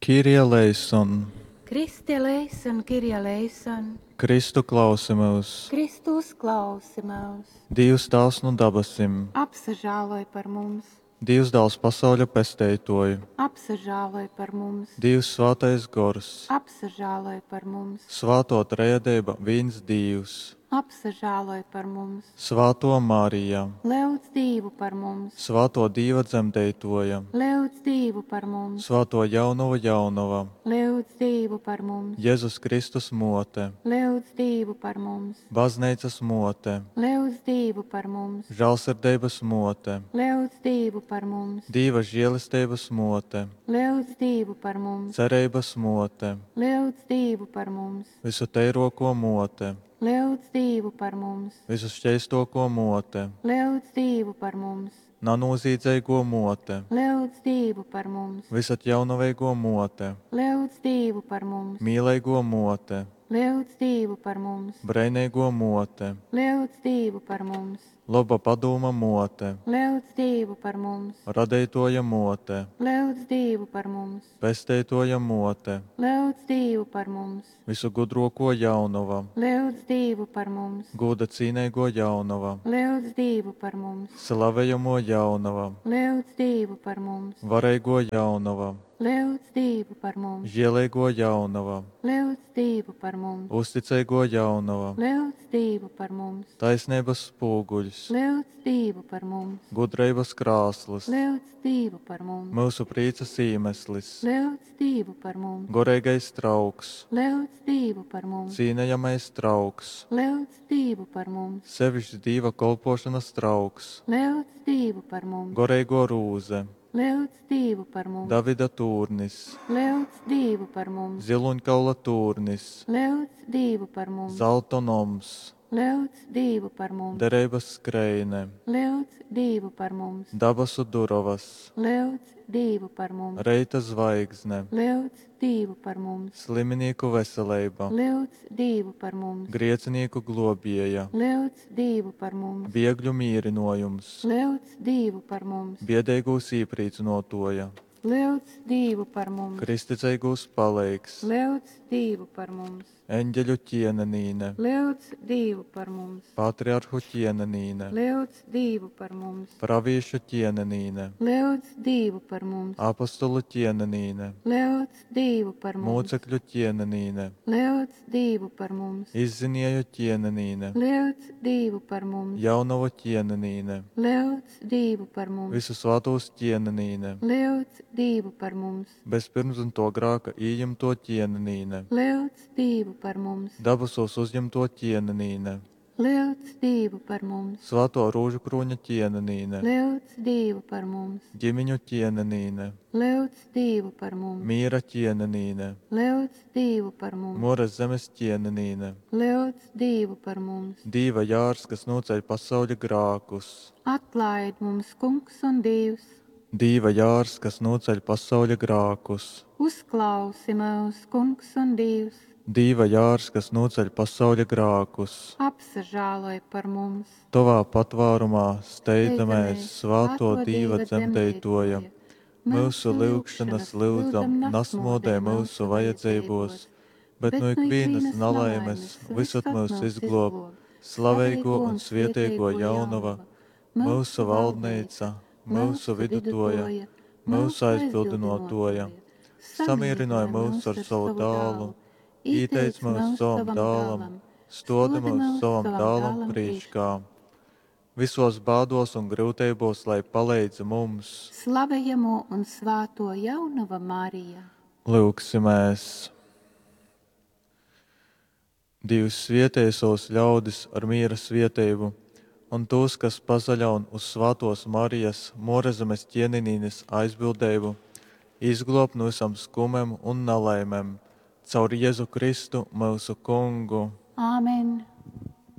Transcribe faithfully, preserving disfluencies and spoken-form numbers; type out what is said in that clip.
Kyrie eleison! Christe eleison, Kyrie eleison! Kristu, klausi myus! Kristu, uzklausi myus! Dīvs Tāvs nu dabasim! Apsažāloj par mums! Dīvs Dāls, pasauļa Pesteitōj! Apsažāloj par mums! Dīvs Svātais Gors! Apsažāloj par mums! Svātō Trejadeiba, vīns Dīvs! Apsažāloj par mums! Svātō Marija! Lyudz Dīvu par mums! Svātō Dīva Dzemdeitōja! Lyudz Dīvu par mums! Svātō Jaunovu Jaunova! Lyudz Dīvu par mums! Jezus Kristus Mōte! Lyudz Dīvu par mums! Bazneicas Mōte! Lyudz Dīvu par mums! Žālsirdeibas Mōte! Lyudz Dīvu par mums! Dīva želesteibas Mōte! Lyudz Dīvu par mums! Cereibas Mōte! Lyudz Dīvu par mums! Vysuteirōkō Mōte! Lyudz Dīvu par mums! Vysuškeistōkō Mōte! Lyudz Dīvu par mums! Nanūzīdzeigō Mōte! Lyudz Dīvu par mums! Vysatjaunoveigō Mōte! Lyudz Dīvu par mums! Mīleigō Mōte! Lyudz Dīvu par mums! Breineigō Mōte! Lyudz Dīvu par mums! Loba Padūma Mōte! Lyudz Dīvu par mums! Radeitōja Mōte! Lyudz Dīvu par mums! Pesteitōja Mōte! Lyudz Dīvu par mums! Vysugudrōkō Jaunova! Lyudz Dīvu par mums! Gūda cīneigō Jaunova! Lyudz Dīvu par mums! Slavejamō Jaunova! Lyudz Dīvu par mums! Vareigō Jaunova! Lyudz Dīvu par mums! Žieleigō Jaunova! Lyudz Dīvu par mums! Uzticeigō Jaunova! Lyudz Dīvu par mums! Taisneibas spūguļs! Lyudz Dīvu par mums! Gudreibas krāsls! Lyudz Dīvu par mums! Myusu prīcas īmeslis! Lyudz Dīvu par mums! Goreigais trauks! Lyudz Dīvu par mums! Cīnejamais trauks! Lyudz Dīvu par mums! Sevišks Dīva kolpōšonas trauks! Lyudz Dīvu par mums! Goreigō rūze! Lyudz Dīvu par mums! Davida tūrnis! Lyudz Dīvu par mums! Zylūņkaula tūrnis! Lyudz Dīvu par mums! Zalta noms! Lyudz Dīvu par mums! Dereibas skreine! Lyudz Dīvu par mums! Dabasu durovas! Lyudz Dīvu par mums! Reita zvaigzne! Lyudz Dīvu par mums! Sliminīku veseleiba! Lyudz Dīvu par mums! Griecinīku glōbieja! Lyudz Dīvu par mums! Biegļu mīrynōjums! Lyudz Dīvu par mums! Biedeigūs īprīcynōtōja! Lyudz Dīvu par mums! Kristticeigūs paleigs! Lyudz Dīvu par mums! Eņģeļu ķienenīne! Lyudz Dīvu par mums! Patriarhu ķienenīne! Lyudz Dīvu par mums! Pravīšu ķienenīne! Lyudz Dīvu par mums! Apostolu ķienenīne! Lyudz Dīvu par mums! Mūcekļu ķienenīne! Lyudz Dīvu par mums! Izzinieju ķienenīne! Lyudz Dīvu par mums! Jaunovu ķienenīne! Lyudz Dīvu par mums! Vysu svātūs ķienenīne! Lyudz Dīvu par mums! Bez pyrmdzymtō grāka ījimtō ķienenīne! Lyudz Dīvu par mums! Dabasūs uzjimtō ķienenīne! Lyudz Dīvu par mums! Svātō Rūžukrūņa ķienenīne! Lyudz Dīvu par mums! Ģimiņu ķienenīne! Lyudz Dīvu par mums! Mīra ķienenīne! Lyudz Dīvu par mums! Mores zemes ķienenīne! Lyudz Dīvu par mums! Dīva jārs, kas nūceļ pasauļa grākus! Atlaid mums, Kungs un Dīvs! Dīva jārs, kas nūceļ pasauļa grākus! Uzklausi myus, Kungs un Dīvs! Dīva jārs, kas nūceļ pasauļa grākus! Apsažāloj par mums! Tovā patvārumā steidzamēs, svātō Dīva dzemdeitōja. Myusu lyugšonas, lyudzam, nasmōdej myusu vajadzeibōs, bet nu ikvīnas nalaimes vysod myus izglōb, slaveigō un svieteigō Jaunova, myusu valdneica, myusu vidutōja, myusu aizbildynōtōja. Samīrynoj myus ar sovu dālu, īteic myus sovam dālam, stōdi myus sovam dālam prīškā. Visos bādos un gryuteibos, lai paleidz mums. Slavejamo un svāto Jaunova Marija! Lyugsimēs! Dīvs svietej sovus ļaudis ar mīra svieteibu un tūs, kas pasaļaun uz svātōs Marijas, Muorezemes ķienenīnes aizbildeibu, izglōb nu vysom skumem un nalaimem. Caur Jezu Kristu, myusu Kungu. Āmen!